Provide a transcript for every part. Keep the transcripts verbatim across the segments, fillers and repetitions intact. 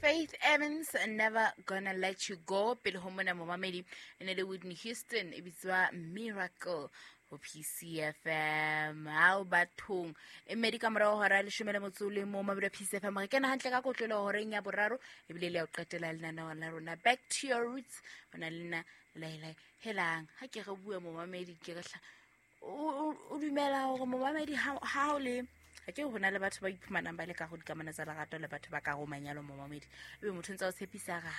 Faith Evans, Never Gonna Let You Go. Pele ho mona momamedi e ne le Whitney Houston e bitswa Miracle ho P C F M. Hao bathong e mmedi ka morao hora ya leshome le motso o le mong mabedi P C F M. Re kena hantle ka kotlolo horeng ya boraro ebile le ya ho qetela lenaneo la rona Back to Your Roots. Hona le nna Laila Helang. Ha ke re bue momamedi ke re hla o o dumela hore momamedi ha ha o le ha ke hona le batho ba iphumanang ba le ka go dikamano tsa lerato le batho ba ka go manyalo momamedi ebe motho ntse o tshepisa ga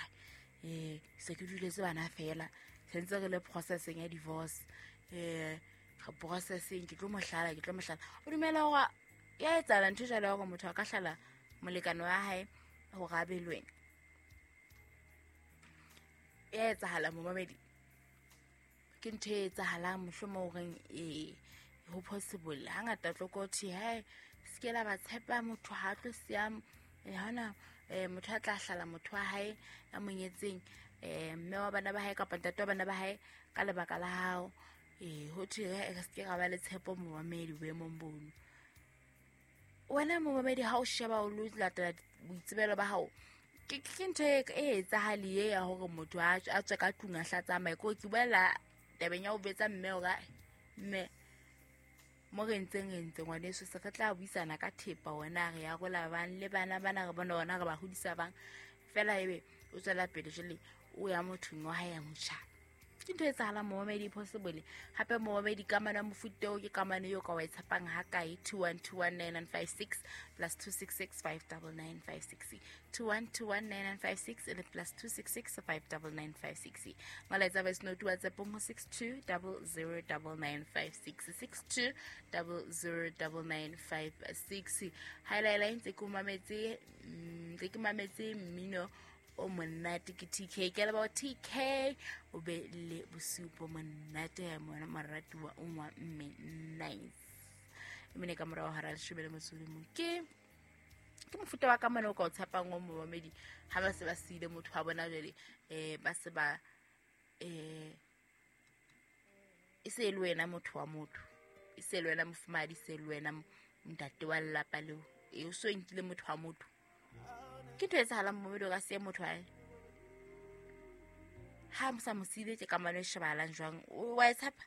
eh se ke duletse bana fela sentse re le processing ya divorce eh ga processing ke tlo mohlala ke tlo mohlala o dumela hore ya etsahala ntho jwalo hore motho a ka hlala molekane wa hae hore a be le wena ya etsahala momamedi ke ntho e etsahalang mohlomong horeng e ho possible hangata tlo ko thi he se ke la ba tshepa motho ha tlo siya hona eh motho a tla hlala motho wa hae a monyetseng eh mme wa bana ba hae kapa ntate wa bana ba hae ka lebaka la hao eh ho thwe re se ke ra ba le tshepo momamedi boemong bono wena momamedi ha o sheba o lo latela boitsebelo ba hao ke ke ntho e etsahale e ya hore motho a tswe ka tlung a hlatsa maiko ke boela tabeng ya ho betsa mme hore mme mo re ntseng re ntse ngwaneso se re tla buisana ka thepa wena re ya rola bang le bana bana re bona ona re ba hodisa bang fela ebe o tswela pele jwale o ya mothong wa hae ya motjha ke ntho e etsahalang momamedi possible hape momamedi kamano ya mofuta oo ke kamano eo ka wa e tshepang ha kae two one two one nine nine five six plus two six six five nine nine five six two one two one nine nine five six le plus two six six five nine nine five six molaetsa voice note WhatsApp ho six two zero zero nine nine five six six two zero zero nine nine five six ha ila ntse ke mametse ntse ke mametse mmino o monate ke T K ke leba T K o be le bosiu bo monate ya mona moratuwa o ngwa mme nice emene ka morao hara leshome le motso o mong ke ke mofuta wa kamano o ka o tshepang o momamedi ha ba se ba siile motho wa bona jwale eh ba se ba eh e se le wena motho wa motho e se le wena mofumadi se le wena ntate wa lelapa leo e o so nkile motho wa motho ke ntho e etsahalang momamedi o ka siya motho hae ha mo sa mo siile ke kamano e shebahalang jwang o wa e tshepa